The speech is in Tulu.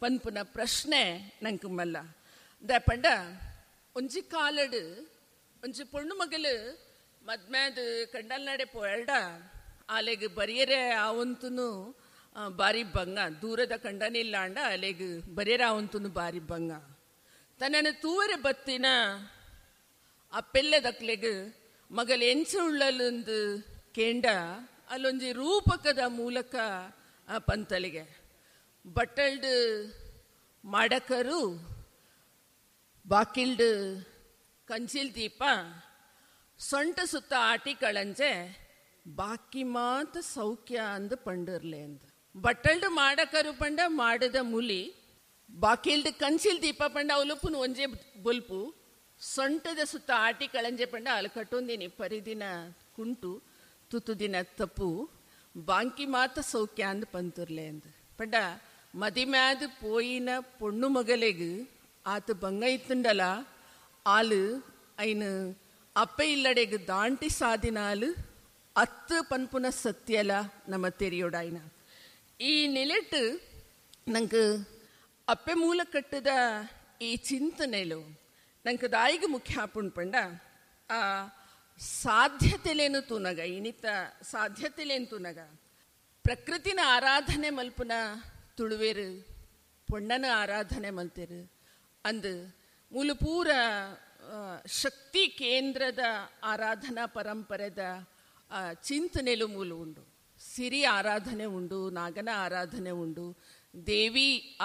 ಪನ್ಪುನ ಪ್ರಶ್ನೆ ನಂಕ್ ಮಲ್ಲ. ದಾಯೆ ಪಂಡ ಒಂಜಿ ಕಾಲಡ್ ಒಂಜಿ ಪೊಣ್ಣು ಮಗಲ್ ಮದ್ಮ್ಯಾದ್ ಕಂಡಲ್ನಡೆ ಪೋಯಲ್ಡ ಆಲೆಗ್ ಬರಿಯರೆ ಆವೊಂತುನು ಬಾರಿ ಬಂಗ. ದೂರದ ಕಂಡನಿಲ್ಲಾಂಡ ಅಲೆಗ್ ಬರಿಯರೆ ಆವೊಂತುನು ಬಾರಿ ಬಂಗ. ತನ್ನನ್ನು ತೂವರೆ ಬತ್ತಿನ ಅಪ್ಪೆಲ್ಲೆದಕ್ಲೆಗ್ ಮಗಲ್ ಎಂಚ ಉಳ್ಳಲುಂದು ಕೇಂಡ ಅಲ್ಲೊಂಜಿ ರೂಪಕದ ಮೂಲಕ ಪಂತಲಿಗೆ ಬಟ್ಟಲ್ಡ್ ಮಾಡಕರು ಬಾಕಿಲ್ಡ್ ಕಂಚಿಲ್ ದೀಪ ಸೊಂಟ ಸುತ್ತ ಆಟಿ ಕಳಂಜೆ ಬಾಕಿ ಮಾತ ಸೌಖ್ಯ ಅಂದ್ ಪಂಡಿರ್ಲೆ ಅಂದ್. ಬಟ್ಟಲ್ಡ್ ಮಾಡಕರು ಪಂಡ ಮಾಡದ ಮುಲಿ, ಬಾಕಿಲ್ಡ್ ಕಂಚಿಲ್ ದೀಪ ಪಂಡ ಅವಲುಪ್ಪುನು ಒಂಜೆ ಬೊಲ್ಪು, ಸೊಂಟದ ಸುತ್ತ ಆಟಿ ಕಳಂಜೆ ಪಂಡ ಅಲ್ಲಿ ಕಟ್ಟೊಂದಿನಿ ಪರಿದಿನ ಕುಂಟು ತುತುದಿನ ತಪ್ಪು, ಬಾಂಕಿ ಮಾತ ಸೌಖ್ಯ ಅಂದ್ ಪಂತುರ್ಲೆ ಅಂದ್. ಪಂಡ ಮದಿಮ್ಯಾದ ಪೋಯಿನ ಪೊಣ್ಣು ಮಗಲೆಗ್ ಆತ ಬಂಗ ಇತ್ತುಂಡಲ ಆಲು ಐನು ಅಪ್ಪೆ ಇಲ್ಲಡೆಗ್ ದಾಂಟಿ ಸಾದಿನಾಲು ಅತ್ತು ಪನ್ಪುನ ಸತ್ಯಲ ನಮ್ಮ ತೆರಿಯೋಡಾಯ್ನ. ಈ ನಿಲೆಟ್ ನಂಗೆ ಅಪ್ಪೆ ಮೂಲ ಕಟ್ಟದ ಈ ಚಿಂತನೆಲು ನಂಗೆ ದಾಯಿಗೆ ಮುಖ್ಯ ಆಪುಂಡು ಪಂಡ ಆ ಸಾಧ್ಯತೆಲೇನು ತೂನಗ, ಇನಿತ ಸಾಧ್ಯತೆಲೇನು ತೂನಗ ಪ್ರಕೃತಿನ ಆರಾಧನೆ ಮಲ್ಪುನ ತುಳುವೇರು ಪೊಣ್ಣನ ಆರಾಧನೆ ಮಲ್ತೇರು ಅಂದು ಮೂಲ ಪೂರ ಶಕ್ತಿ ಕೇಂದ್ರದ ಆರಾಧನಾ ಪರಂಪರೆದ ಚಿಂತನೆಲು ಮೂಲ ಉಂಡು. ಸಿರಿ ಆರಾಧನೆ ಉಂಡು, ನಾಗನ ಆರಾಧನೆ ಉಂಡು, ದೇವಿ